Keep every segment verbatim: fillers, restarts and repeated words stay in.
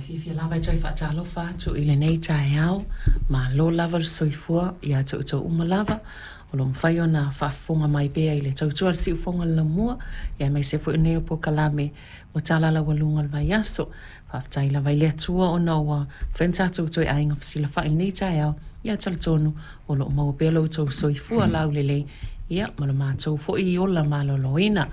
Fiafia lava e toe faatalofa atu i lenei taeao. Malo lava le soifua ia te outou uma lava o lo o mafai ona faafofoga mai pea i le tautua a le Siufofoga o le Laumua, aemaise foi o nei o polokalame o Tala Laualuga o le Vaiaso. Faafetai lava i le Atua ona ua mafai ona tatou toe aiga fesilafai i lenei taeao. Ia talitonu o lo o maua pea lo outou soifua laulelei, ia ma lo matou foi ola maloloina.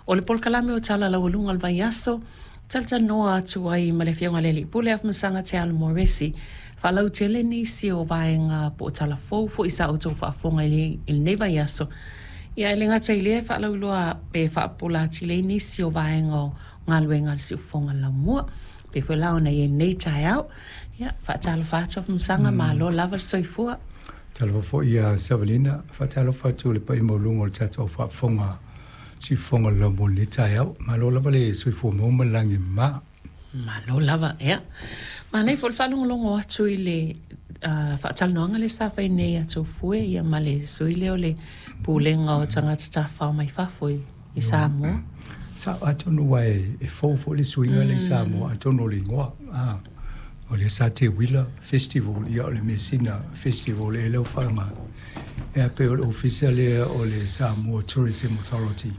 O le polokalame o Tala Laualuga o le Vaiaso, talatalanoa atu ai ma le Afioga i le Alii Pule Afamasaga Teanu Moresi, faalautele nisi o vaega po o talafou foi sa outou faafofoga i lenei vaiaso. Ia e le gata i lea, faalauiloa pe faapupula atili ai nisi o vaega o galuega a le Siufofoga o le Laumua pei foi la ona i ai lenei taeao. Ia, faatalofa atu Afamasaga, malo lava le soifua. Talofa foi ia Savalina, faatalofa atu i le paia maualuga o le tatou faafofoga Siufofoga o le Laumua i lenei taeao. Malo lava le soifua maua ma le lagi e mama. Malo lava, ia. Manaia foi le faalogologo atu i le uh, faatalanoaga lea sa fai nei a Tofue ia ma le sui lea o le Pulega o Tagata Tafafao mai Fafo i, i Samoa. Sa atonu ua e, e fou foi le suiga mm. le i Samoa, atonu o le igoa. Ah, o le sa Teuila Festival, ia o le Mesina Festival e leo whaanga. E pe o le ofisa lea o le Samoa Tourism Authority.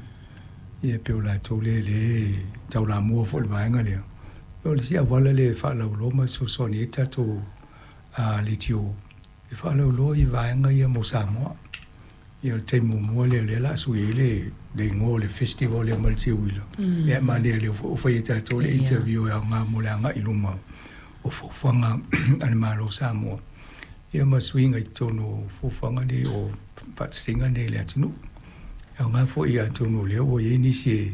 Ia pe o la tau le le tau la mua fo le vaega lea. O le si auala le faalauiloa ma fesoasoani ai tatou a leitio e faalauiloa i vaega ia mo Samoa. Ia o le taimi muamua lea o lea o le a sui ai le le igoa o le festival lea mai le Teuila. Ia manaia lea ua fai e tatou le interview e aoga mo le agai i luma o fuafuaga a le Malo o Samoa. Ia ma suiga i totonu o fuafuaga nei o faatasiga nei i le atunuu. E aoga foi atonu o lea ua i ai nisi e